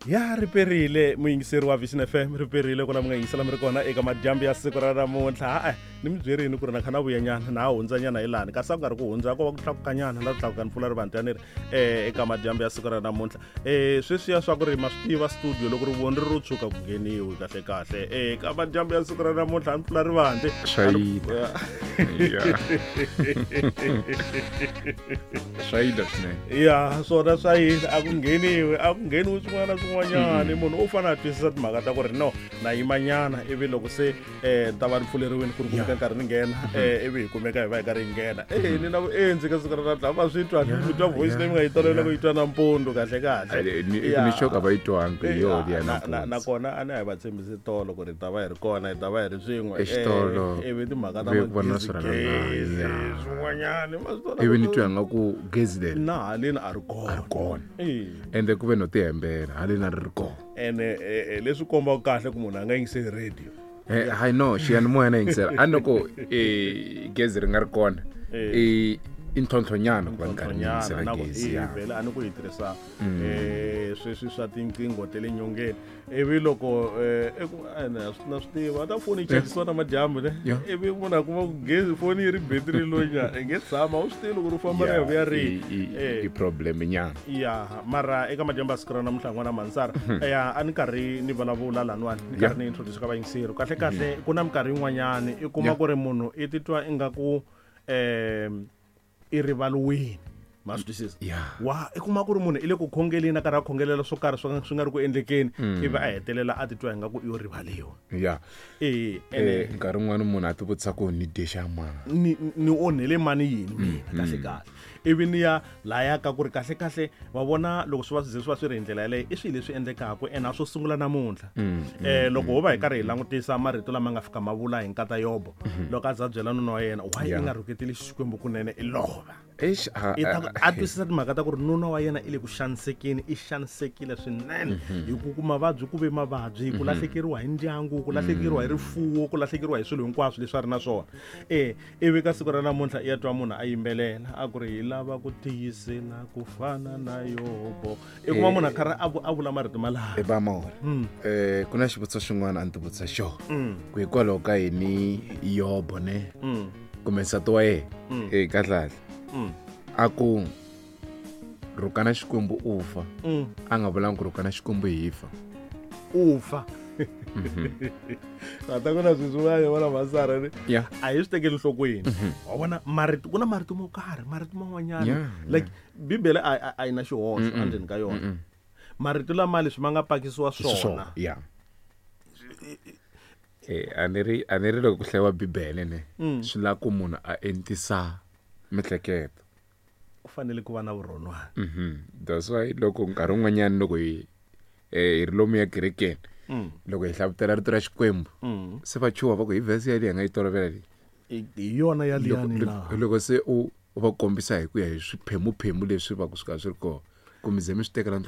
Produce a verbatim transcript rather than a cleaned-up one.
Ya riperile muyingiseri wa Vision F M, riperile ku na mi nga yingisela mi ri kona eka madyambu ya siku ra namuntlha. Ha-e, ni mi byerini ku ri na kha na vuyanyana na ha hundzanyana hi lani, kasi a ku nga ri ku hundza, ko va ku tlakukanyana na ku tlakuka ni pfula rivanti ya ni ri um eka madyambu ya siku ra namuntlha. um sweswiya swa ku ri ma swi tiva, studio loko ri voni ri ro tshuka ku ngheniwi kahle kahle. Eka madyambu ya siku ra namuntlha a ni pfula rivanti. Swayida. Ya. Swayida swinene. Ya, swona swa yini, a ku ngheniwi, a ku ngheniwi swin'wana na swin'wanyana. Munhu u fanele a twisisa timhaka ta ku ri no na yimanyana, ivi loko se um ni ta va ni pfuleriwini ku ri kumeka nkarhi ni nghena, um ivi hi kumeka hi va hi karhi hi nghena. E ni na vuendzi ka siku ra namuntlha, va swi twa, mi twa voice leyi mi nga yi tolovela ku yi twa nampundzu kahle kahle. Ni xoka va yi twangi hi yoho liya. Na- na- nampundzu. Nakona a ni a hi va tshembisi tolo ku ri hi ta va hi ri kona, hi ta va hi ri swin'we. Exitolo, Eh, ivi timhaka ta ve ku vona magezigezi swirhalanganyi, ya. swin'wanyana ma swi vona. Ivi ni twa nga ku gezi leri na haleni a ri kona. Kona. Eh. Ende ku ve no tihembela, haleni a ri ri kona. Ene eh, eh, leswi kombaka kahle ku munhu a nga yingiseli radio. Eh, hayi no, xiyanimoya na yingisela, a ni ko eh, gezi ri nga ri kona, i i ntlhontlhonyana ku va ni karhi ni yingisela na ku gezi eh, ya. Vhele a ni ku yi tirhisa eh sweswi swa tinqingho ta le nyongeni, ivi loko eh, eku ene a swi- na swi tiva ta foni yi chajisiwa na madyambu ne, Yeah. ivi munhu a kuma ku gezi foni yi ri betiri lonya i nge tshama u swi tivi loko ri famba ri ya vuya ri i- i- Eh. i problem nyana. Ya, mara eka madyambu ya siku ra namuntlha, n'wana Mansara, ya a ni karhi ni vulavula laniwani, ni karhi ni introduce ka vayingiseri kahle kahle. Ku na minkarhi yin'wanyani i kuma Yeah. ku ri munhu i titwa ingaku um i rivaliwini, ma swi twisisa? Yeah. Wa i kuma ku ri munhu i le ku khongeleni, a karhi a khongelela swo karhi swo swi nga ri ku endlekeni, ivi a hetelela a titwa ingaku i yo rivaliwa. Ya. E ene Eh, nkarhi wun'wani munhu a ti vutisa ku ni dye xa mani. ni ni onhele mani yini mina kahle kahle, ivi ni ya laya ka ku ri kahle kahle wa vona loko swi va swi ze swi va swi ri hi ndlela yaleyo, i swilo leswi endlekaka ene a swo sungula namuntlha. um loko ho va hi karhi hi langutisa marito lama nga fika ma vula hi nkata Yobo loko a za byela nuna wa yena, why i Yeah. nga rhuketeli Xikwembu kunene i lova? Eish, a- I ta a- a twisisa timhaka ta ku ri nuna wa yena i le ku xanisekeni, i xanisekile swinene hi ku ku mavabyi, ku ve mavabyi, ku lahlekeriwa hi ndyangu, ku lahlekeriwa hi rifuwo, ku lahlekeriwa hi swilo hinkwaswo leswi a ri na swona. E ivi ka siku ra namuntlha i ya twa munhu a yimbelela a ku ri hi lava ku tiyisela ku fana na Yobo, i kuma munhu a karhi a vu- a vula marito malama. E Bamora, eh ku na xivutiso xin'wana a ni ti vutisa xona, ku hikwalaho ka yini Yobo ne kumbe nsati wa yena e kahlekahle a ku rhukana Xikwembu u fa, a nga vulanga ku rhukana Xikwembu hi fa? U fa ata ku na swilo swin'wana vona Masara ni ya a hi swi tekeli nhlokweni. Wa vona marito, ku na marito mo karhi, marito man'wanyana, Yeah, like Bibele a a- a yi na xihoxo endzeni ka yona. Marito lama leswi ma nga pakisiwa swona. Ya, eh a ni ri a ni ri loko ku hlayiwa Bibele ne, swi lava ku munhu a entisa mihleketo. Ku fanele ku va na vurhonwana. Mhm that's why loko nkarhi wun'wanyani loko hi eh, hi ri lomu ya kerekeni, loko hi hlavutela rito ra Xikwembu, se va chuha, va ku hi vhesi yaliyi hi nga yi tolovela leyi. I- hi yona ya Loko- liyani loko na loko se u u va kombisa hi ku ya hi swiphemuphemu leswi va ku swi ka swi ri kona, kumbe ze mi swi tekela.